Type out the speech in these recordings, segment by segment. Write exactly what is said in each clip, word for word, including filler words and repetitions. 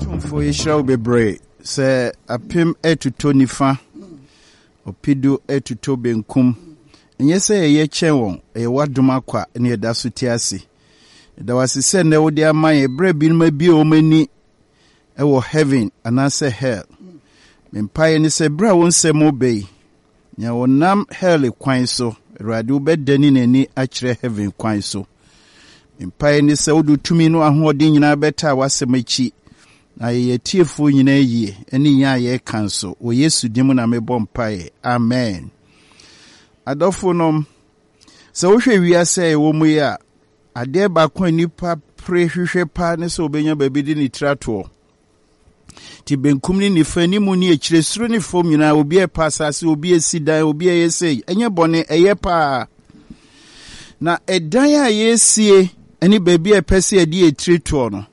Tumfoɔ, yɛhyira wo bebree sɛ apem ɛtotɔ nifa, ɔpedu ɛtotɔ benkum. Ɛnyɛ sɛ yɛyɛ kyɛn wɔn, ɛyɛ w'adom akwa ne yɛda so te ase. Ɛda wo ase sɛ nnɛ wode ama yɛn berɛ binom abie wɔn ani ɛwɔ heaven anaasɛ hell. Me mpaeɛ ne sɛ berɛ a wo nsɛm reba yi, nea wɔnam hell kwan so, Awurade, wobɛdane n'ani akyerɛ heaven kwan so. Me mpaeɛ ne sɛ wode tumi no ahoɔden nyinaa bɛtaa w'asɛm akyi na yɛyɛ tiefoɔ nyinaa yie ne yɛn a yɛreka nso. Wɔ Yesu din mu na mebɔ mpaeɛ, amen. Adɔfo nom, sɛ wohwɛ wiase a ɛwɔ mu yi a, adeɛ baako a nnipa pere hwehwɛ paa ne sɛ wobɛnya baabi de ne tiri atoɔ. Nti benkum ne nifa, anim ne akyire, soro ne fam nyinaa, obi ɛpa asase, obi esi dan, obi ɛyɛ sei. Ɛnyɛ bɔne, ɛyɛ paa. Na ɛdan a yɛresie ne baabi a ɛpɛ sɛ yɛde yɛ tiri toɔ no,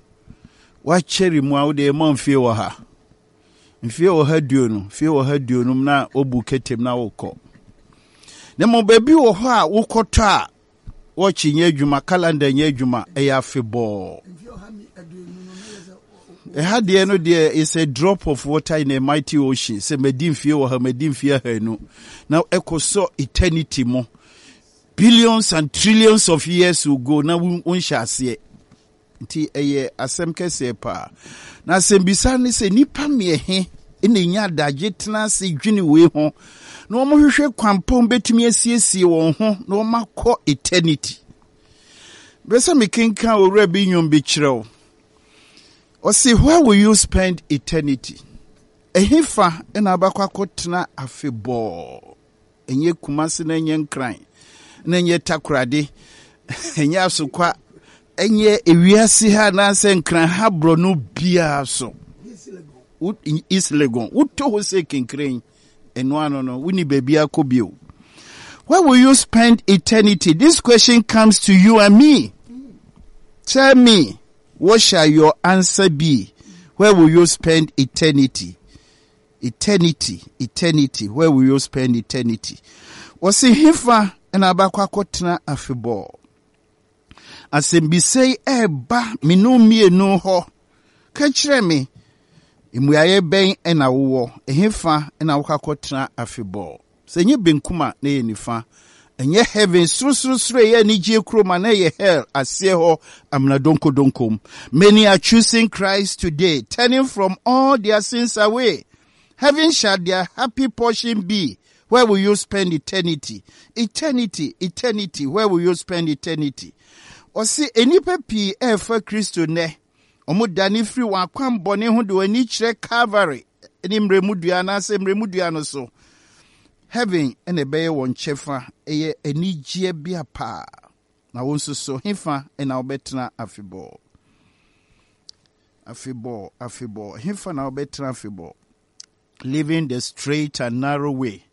wakyɛre mu a wode ɛma mfie wɔ ha, mfie wɔ ha duonu, mfie wɔ ha duonum na wobu ketem na wokɔ. Na mmom baabi wɔ hɔ a wokɔtɔ a, wɔkye nyɛ adwuma, calendar nyɛ adwuma, ɛyɛ afebɔɔ. Ɛha deɛ no deɛ is a drop of water in a mighty ocean. Sɛ madi mfie wɔ ha, madi mfie ahanu na ɛkɔ sɔ eternity mu, billions and trillions of years will go na wonhyɛ aseɛ. Nti ɛyɛ asɛm kɛseɛ paa. Na asɛmbisa ne sɛ, nnipa mmiɛhe na ɛnya adagye tena ase dwene wei ho na wɔhwehwɛ kwampɔn bɛtumi asiesie wɔn ho na wɔmakɔ eternity? Bɛ sɛ mekenka owura bi nnwom bi kyerɛ wo. Ɔse, "Where will you spend eternity?" Ɛhefa ɛna abakɔ akɔtena afebɔɔ? Ɛnyɛ Kumase na ɛnyɛ Nkran na ɛnyɛ Takorade, ɛnyɛ Asokwa, ɛnyɛ ewiase ha anaasɛ Nkran ha borɔ biara so, East Legon. Wotɔ hɔ sɛ kenkren ɛno ano no, woni baabi akɔ bio. Where will you spend eternity? This question comes to you and me. Tell me, what shall your answer be? Where will you spend eternity? Eternity, eternity, where will you spend eternity? Wɔsi hefa ɛna abakɔ akɔtena afebɔɔ? Asɛmbisa yi ɛɛba menu mmienu hɔ. Ka kyerɛ me, mmuaeɛ bɛn ɛna wowɔ? Ɛhefa ɛna wokɔ akɔtena afebɔɔ? Sɛ ɛnyɛ benkum a, na ɛyɛ nifa. Ɛnyɛ heaven sorosorosoro ɛyɛ anigye kurom a, na ɛyɛ hell aseɛ hɔ amena donkodonkom. Many are choosing Christ today, turning from all their sins away. Heaven shall their happy portion be. Where will you spend eternity? Eternity, eternity, where will you spend eternity? Ɔse nnipa pii ɛrefa Kristo nnɛ. Ɔmo dane firi wɔn akwammɔne ho de wɔn ani kyerɛ Calvary ne mmerɛmudua anaasɛ mmerɛmudua no so. Heaven ɛna ɛbɛyɛ wɔn kyɛfa, ɛyɛ anigyeɛ bea paa. Na wɔn nso so, hefa ɛna wɔbɛtena afebɔɔ? Afebɔɔ, afebɔɔ, hefa na wɔbɛtena afebɔɔ? Living the straight and narrow way,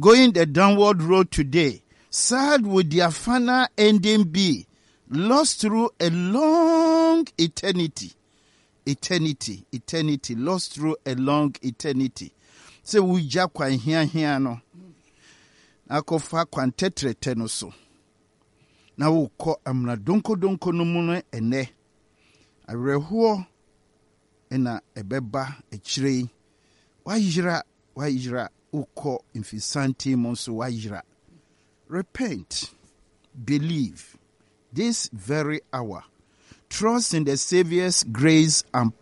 going the downward road today, sad would their final ending be, lost through a long eternity. Eternity, eternity, lost through a long eternity. Sɛ wogya kwan hiahia no akɔfa kwan tɛtrɛtɛ no so na wokɔ amena donkodonko no mu no, ɛnɛ awerɛhoɔ ɛna ɛbɛba akyire yi. Wayera, wayera, wokɔ mfisanten mu nso wayera. Repent, believe this very hour, trust in the Savior's grace and power.